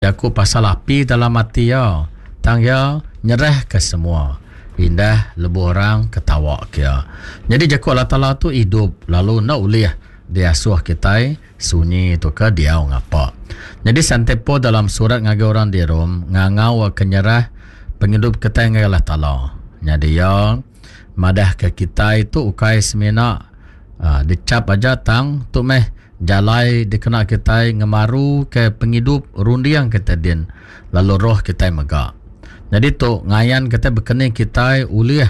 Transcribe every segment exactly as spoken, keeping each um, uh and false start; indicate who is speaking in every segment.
Speaker 1: Jaku pasal api dalam ati iya, tang iya nyerahka semua, indah lebuh orang ketawa ke iya. Nyadi jaku Allah Taala tu idup lalu enda ulih diasuh kitai sunyi tauka diau ngapa. Nyadi Sante Paul dalam surat ngagai orang di Rome ngangau ke nyerah pengidup kitai ngagai Allah Taala. Nyadi iya madahka kitai tu ukai semina uh, dicap aja tang tu meh jalai dikena kitai ngemaru ke pengidup runding kita din lalu roh kitai mega. Jadi tu ngayan kita bekeni kitai ulih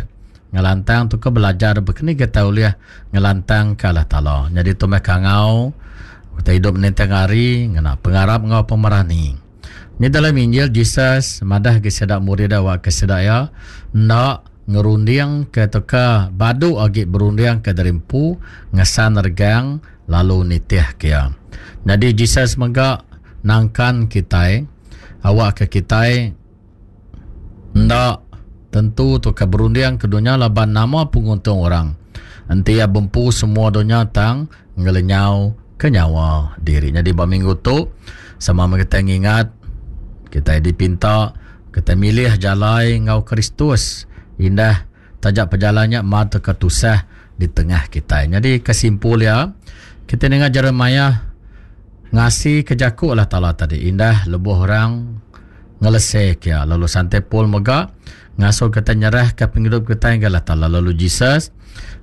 Speaker 1: ngelantang tu ke belajar bekeni kita ulih ngelantang ke Allah Taala. Jadi tu meh kangau kita hidup ninting hari ngena pengarap ngau pemerani. Ni dalam Injil Jesus madah ke sida murid awak ke sida ya ndak ngerunding ke teka badu agi berunding ke derimpu ngesan regang lalu nitih ke iya. Jadi Jesus mega nangkan kitai awak ke kitai ndak tentu tu ke berunding ke dunia laban nama penguntung orang. Enti iya bempu semua dunia tang ngelenyau ke nyawa diri. Jadi ba minggu tu sama kita ngingat kita dipinta kita milih jalai ngau Kristus indah tajak perjalannya mat ke tusah di tengah kita. Jadi kesimpul ya kita dengar Jeremiah ngasi ke jaku Allah Taala tadi indah lebuh orang ngelesek ya. Lalu Sante Paul mega ngasuh kita nyerah ke pengidup kita ngagai Allah Taala. Lalu Jesus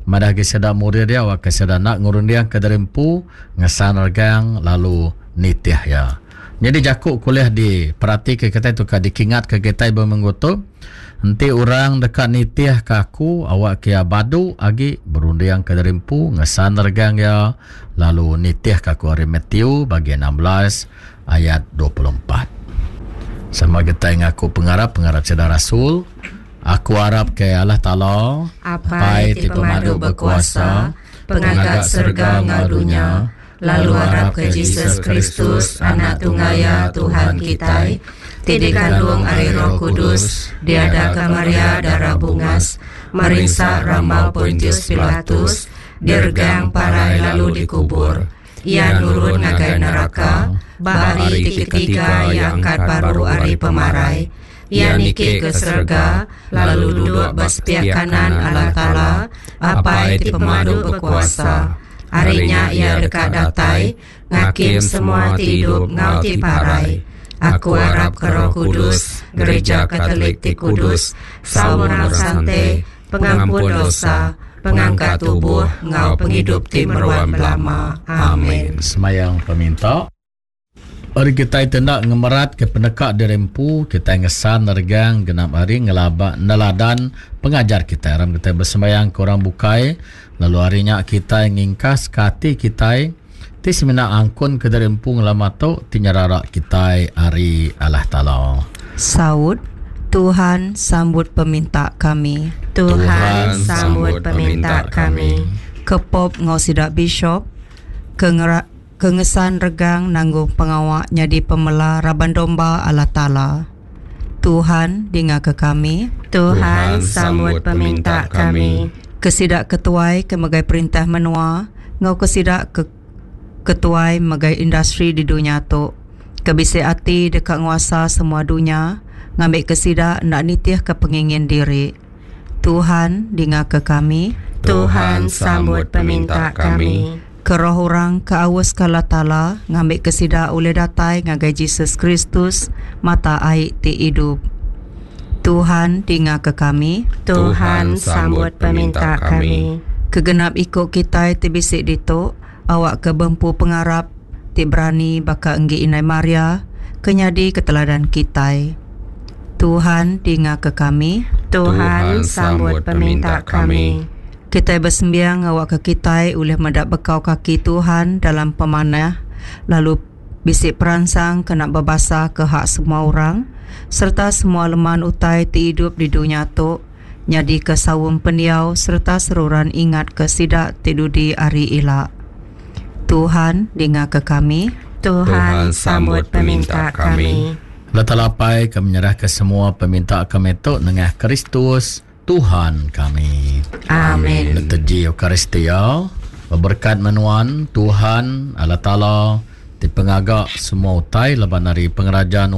Speaker 1: madah ke sida murid dia awak ke sida nak ngurundiang ke derimpu ngesan regang lalu nitih ya. Jadi jaku kuliah di perhati ke kita tu ka dikingat ke kita berminggu tu enti orang dekat nitih ke aku awak ke badu agi berundiang ke derimpu ngesan regang ya lalu nitih ke aku hari Matthew bagian enam belas ayat dua puluh empat. Sama kita ngaku pengarap pengarap sida rasul. Aku arap ke Allah Taala
Speaker 2: Apai ti pemadu berkuasa, pengaga serga ngau dunia, lalu arap ke Jesus Kristus anak tunggal ya Tuhan kitai, ti dikandung ari Roh Kudus, diadaka Maria darah bungas, merinsa rambau Pontius Pilatus, diregang parai lalu dikubur. Ia nurun ngagai neraka, ba hari ti ketiga ia angkat baru ari pemarai. Ia niki ke serega, lalu duduk ba sepiak kanan Allah Taala, Apai ti pemadu berkuasa. Harinya ia dekat datai, ngakim semua ti hidup ngau ti parai. Aku harap ke Roh Kudus, Gereja Katolik ti Kudus, saum orang sante, pengampun dosa, pengangkat tubuh ngau penghidup ti meruan belama. Amin.
Speaker 1: Semayang peminta. Hari kita tindak ngemerat ke penekak dirempu, kita ngesan regang genap hari ngelaba neladan pengajar kita. Aram kita bersembayang ke orang bukai, lalu harinya kita ngingkas ke hati kita ti semina angkun ke dirempu ngelama tu ti nyerarak kita hari Allah Taala.
Speaker 3: Saud, Tuhan sambut peminta kami.
Speaker 2: Tuhan sambut peminta kami.
Speaker 3: Kepop ngau sidak bishop ke ngera kengesan regang nanggung pengawak nyadi pemela raban domba Allah Taala. Tuhan dinga ke kami.
Speaker 2: Tuhan sambut peminta kami.
Speaker 3: Kesidak ketuai ke megai perintah menua, ngau kesidak ke ketuai megai industri di dunia tu. Kebisi ati dekat nguasa semua dunia, ngambil kesidak nak nitih ke pengingin diri. Tuhan dinga ke kami.
Speaker 2: Tuhan sambut peminta kami.
Speaker 3: Keroh orang ke awas ke Allah Taala ngambil kesida oleh datai ngagai Jesus Kristus mata air ti hidup. Tuhan dinga ke kami.
Speaker 2: Tuhan sambut peminta kami.
Speaker 3: Kegenap ikut kita ti bisik ditu awak ke bempu pengarap ti berani baka enggi Inai Maria kenyadi keteladan kita. Tuhan dinga ke kami.
Speaker 2: Tuhan sambut peminta kami.
Speaker 3: Kita bersembiang awak ke kita oleh mendak bekau kaki Tuhan dalam pemanah lalu bisik peransang kena berbasa ke hak semua orang serta semua leman utai ti hidup di dunia tu nyadi ke sawung pendiau serta seruran ingat ke sidak ti dudi ari ila. Tuhan dinga ke kami.
Speaker 2: Tuhan sambut peminta kami.
Speaker 1: Letalapai kami menyerah ke semua peminta kami tu nengah Kristus Tuhan kami.
Speaker 2: Amin.
Speaker 1: Liturgi Eucharistia berkat menuan Tuhan Allah Taala ti pengaga semua utai laban ari pengeraja nuan